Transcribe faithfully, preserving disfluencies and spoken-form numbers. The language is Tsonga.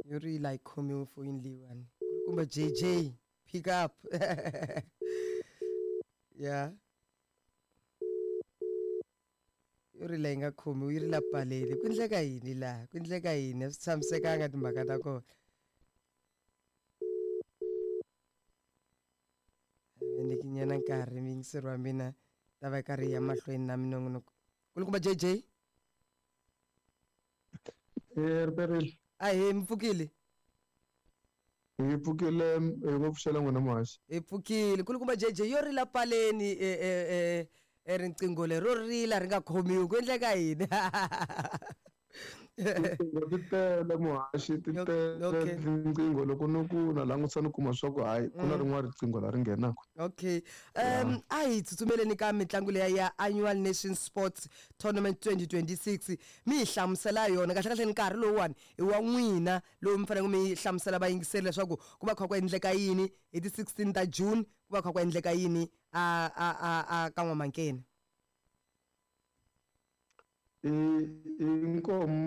Yo rila yi khomiwe foyini leyiwani. Kumbe J J, pick up. Ya, yo rila yi nga khomiwi, yi rila paleni. Ku endleka yini laha? Ku endleka yini? A swi tshamisekanga timhaka ta kona. Nyikinyana nkarhi muyingiseri wa mina, ta va yi karhi yi ya mahlweni na minongonoko. Kulukumba J J. Eh, riperile. Ahee, mi pfukile? Hi pfukile, hi ngo pfuxela n'wina muhaxi. Hi pfukile, kulukumba J J. Yo rila paleni e e e e riqingho leri ro rila ri nga khomiwi, ku endleka yini? Tinqingho ti tele, muhaxi, ti tele. Okay. Tinqingho loko ni ku na langutisa ni kuma swa ku hayi, ku na rin'wana riqingho la ri nghenaka. Okay, um a hi tsutsumeleni ka mitlangu leya ya Annual Nation Sports Tournament twenty twenty-six. Mi hi hlamusela yona kahle kahle. Nkarhi lowuwani i wa n'wina lowu mi faneleke mi hlamusela vayingiseri leswaku ku va kha ku endleka yini hi ti sixteen ta June, ku va kha ku endleka yini a a a a ka N'wamankeni. I i nkomu.